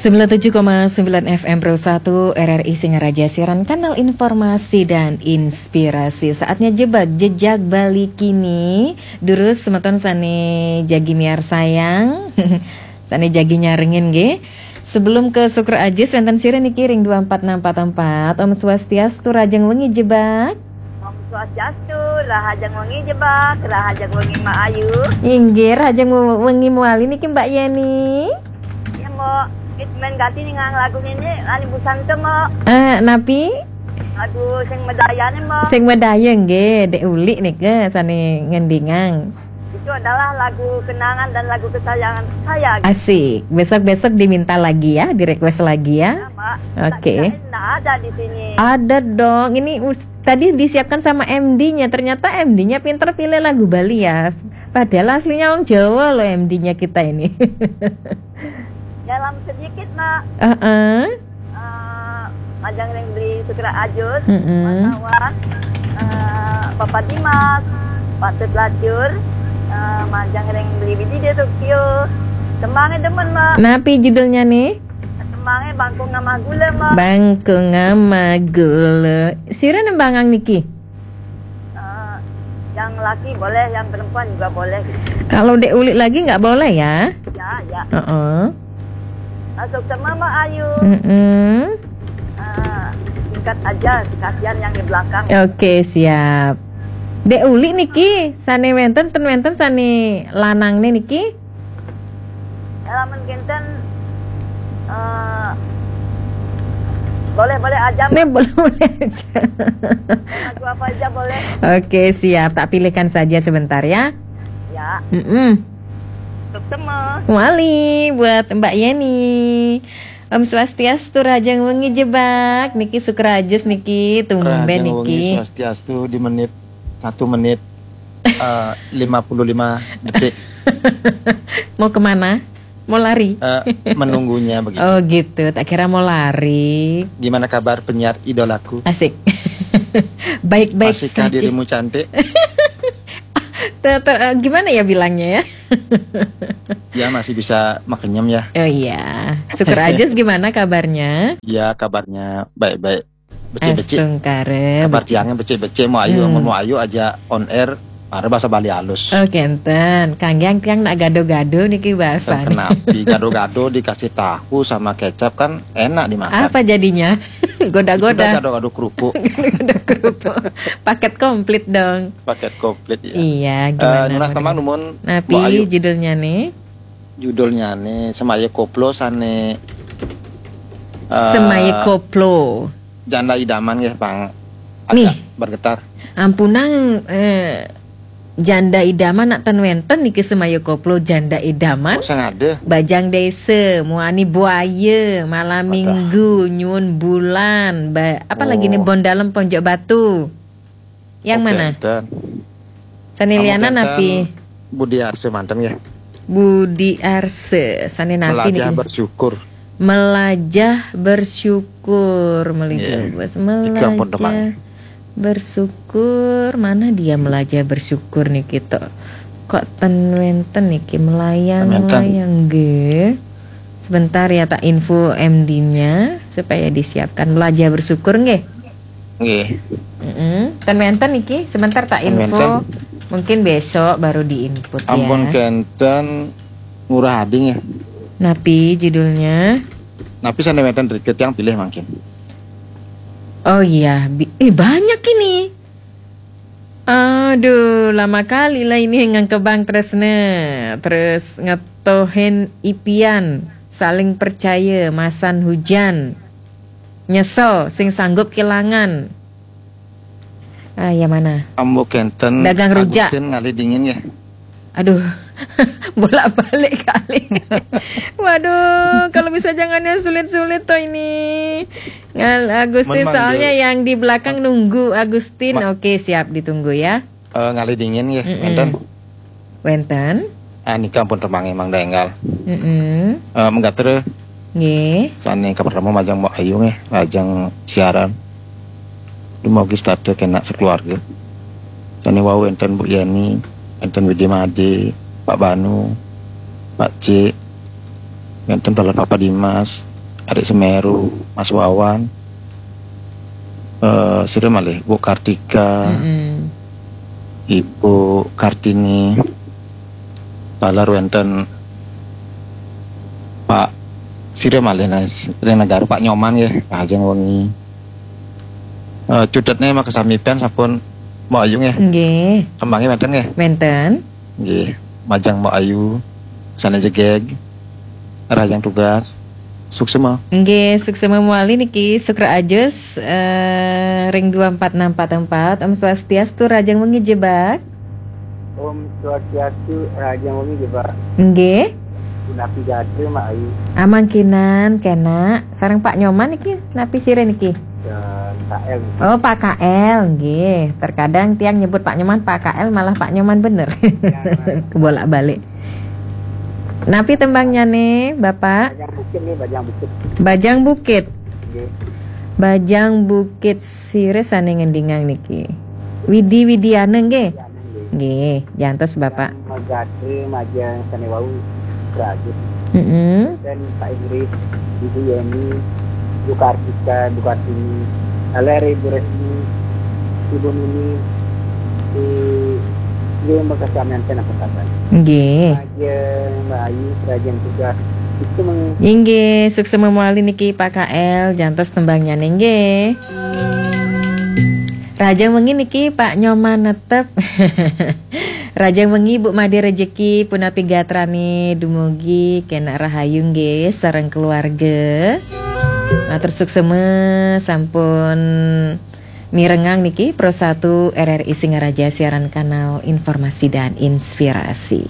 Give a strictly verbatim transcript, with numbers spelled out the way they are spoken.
Sembilan tujuh koma sembilan F M Pro satu R R I Singaraja, siaran kanal informasi dan inspirasi. Saatnya jebak jejak Bali kini. Durus semeton sane jagi miarsayang. Sane jagi nyarengin nggih. Sebelum ke Sukra Ajus, wenten sira niki ring dua empat enam empat empat. Om Swastiastu, rahajeng wengi jebak. Om Swastiastu, rahajeng wengi jebak, rahajeng wengi Mak Ayu. Inggih, rahajeng wengi mawali niki Mbak Yeni. Ya, Mbok. Wis men ganti ningang lagu niki, lali busan to, Mbok. Eh, napi? Aduh, sing medayane, Mbok. Sing medaya nggih, Dek Ulik nika sane ngendingang. Itu adalah lagu kenangan dan lagu kesayangan saya, gitu. Asik. Besok-besok diminta lagi ya, di-request lagi ya. Ya, Mbak. Oke. Saya kirain nggak ada di sini. Ada dong. Ini us- tadi disiapkan sama M D-nya. Ternyata M D-nya pinter pilih lagu Bali ya. Padahal aslinya wong Jawa loh M D-nya kita ini. Dalam sedikit, Mak. Heeh. Eh, majeng ring Beli Sukra Ajus, mm-mm, Mas Awan, eh, Bapak Dimas, Patut Lacur, eh, majeng ring Beli Widi di Tokyo. Tembange demen, Mak. Napi judulnya nih? Tembange Bangku Ngamah Gula, Mak. Bangku Ngamah Gula. Sira nembangang niki? Eh, yang laki boleh, yang perempuan juga boleh, gitu. Kalau Dek Ulik lagi nggak boleh ya? Ya, ya. Heeh. Masuk sama Mak Ayu. Mm-mm. Eh, singkat aja, kasihan yang di belakang. Oke, siap. Dek Ulik niki, sane wenten, ten wenten sane lanangne niki? Lamun kinten, eh, boleh-boleh aja, Mak. Nih, boleh-boleh aja. Lagu apa aja boleh. Oke, siap. Tak pilihkan saja sebentar ya. Ya. Mm-mm. Sukses, Mak. Wali buat Mbak Yeni. Om Swastiastu, rahajeng wengi jebak. Niki Sukra Ajus niki, tumben. Rahajeng wengi niki. Swastiastu di menit, satu menit, eh, lima puluh lima detik. Mau kemana? Mau lari? Eh, menunggunya begitu. Oh gitu, tak kira mau lari. Gimana kabar penyiar idolaku? Asik. Baik-baik saja. Masihkah dirimu cantik? Ter- ter- eh, gimana ya bilangnya ya? Ya, masih bisa makenyem ya. Oh iya. Sukra Ajus gimana kabarnya? Ya, kabarnya baik-baik. Becik-becik. Astungkara, kabar becik. Tiangnya becik-becik, mau ayu, hmm, mau ayu aja on air, mare bahasa Bali halus. Oh, kenten. Kangge tiang nak gado-gado niki bahasane. Kenapi gado-gado dikasih tahu sama kecap kan enak dimakan. Apa jadinya? Goda-goda. Itu udah gado-gado kerupuk. Gado-gado kerupuk. Paket komplit dong. Paket komplit ya. Iya, eh, gimana nunas mereka? Teman numun. Napi judulnya nih? Judulnya nih, Semaya Koplo sane, eh, Semaya Koplo. Janda idaman nggih, Bang. Agak nih. Bergetar. Ampunang, eh, janda idaman nak ten wenten niki Semaya Koplo janda idaman. Kok sing ada? Bajang Desa, Muani Buaya, Malam Minggu, Nyuwun Bulan, ba- apa lagi nih, oh. Bon Dalem Ponjok Batu. Yang mana? Sane lianan napi? Budi Arse manten ya. Budi Arse, sane napi niki? Melajah bersyukur. Melajah bersyukur, melajah. Iya. Bos. Melajah bersyukur. Mana dia melajah bersyukur nih kita? Kok ten wenten niki melayang, melayang nggih. Sebentar ya, tak info M D-nya supaya disiapkan. Melajah bersyukur nggih. Nggih. Mm-mm. Ten wenten niki, sebentar tak info. Ten wenten. Mungkin besok baru di-input ya. Ampun kenten Ngurah Ading ya. Napi judulnya? Napi sane wenten dikit yang pilih mangkin. Oh iya, bi- eh banyak ini. Aduh, lama kali lah ini ngengkebang tresne. Terus ngetohin ipian, saling percaya, masan hujan. Nyesel, sing sanggup kelangan. Ah, yang mana? Ambo kenten. Dagang rujak. Agustin ngalih dingin ya. Aduh, bolak-balik kali. Waduh, kalau bisa jangan yang sulit-sulit toh ini. Ngal Agustin, soalnya yang di belakang nunggu Agustin. Oke, siap ditunggu ya. Eh, ngalih dingin ya, mm-mm. Wenten. Wenten. Ah, nika ampun remange Mang Daenggal. Mm-mm. Eh, menggater. Nggih. Sane kapertama majeng Mbok Ayu nggih, lajeng siaran. Dumugi setata kenak sekeluarga. Sane wau enten Bu Yeni, enten Widi Made, Pak Banu, Pak Cik, enten Bapak Dimas, Adik Semeru, Mas Wawan, eh, sira malih, Bu Kartika, Mm-mm. Ibu Kartini, taler wénten Pak sira malih, nah, ring negara, Pak Nyoman nggih, rahajeng wengi. Eh, cudetné makasami pén sampun Mbok Ayu nggih. Nggih, Tembangé wénten nggih. wénten. Nggih, majeng Mbok Ayu sané jegég. Rahajeng tugas. Suksma. Nggih, suksma malih niki Sukra Ajus eh, ring dua empat enam empat empat. Om Swastiastu, rahajeng wengi Jebak. Om Swastiastu, rahajeng wengi Jebak. Nggih. Punapi gatra Mbok Ayu Amangkinan kénak sareng Pak Nyoman niki, napi sira niki? dan K L. Oh, Pak K L nggih. Terkadang tiang nyebut Pak Nyoman Pak K L, malah Pak Nyoman bener. Kebolak-balik. Napi tembangnyané, Bapak? Bajang Bukit nih, Bajang Bukit. Bajang Bukit. Nggih. Bajang Bukit sira sané ngendingang niki. Widi Widiana nggih. Nggih. Nggih, jantos Bapak. Magadri majeng sané wau Sukra Ajus. Mm-mm. Dan Pak Idris, Ibu Yeni, Bu Kartika, Bu Kartini, Aleri, Bu Resmi, Ibu Nini, di Ibu Bekasi Amianten apa kabar? Nggih. Majeng Mbok Ayu, rahajeng tugas. Itu meng Inggih, suksma malih niki Pak K L, jantos tembangnyané nggih. Rahajeng wengi niki Pak Nyoman netep. Rahajeng wengi Bu Made Rejeki, punapi gatrané, dumugi kénak rahayu nggih sareng keluarga. Matur suksma sampun mirengang niki Pro satu R R I Singaraja, siaran kanal informasi dan inspirasi.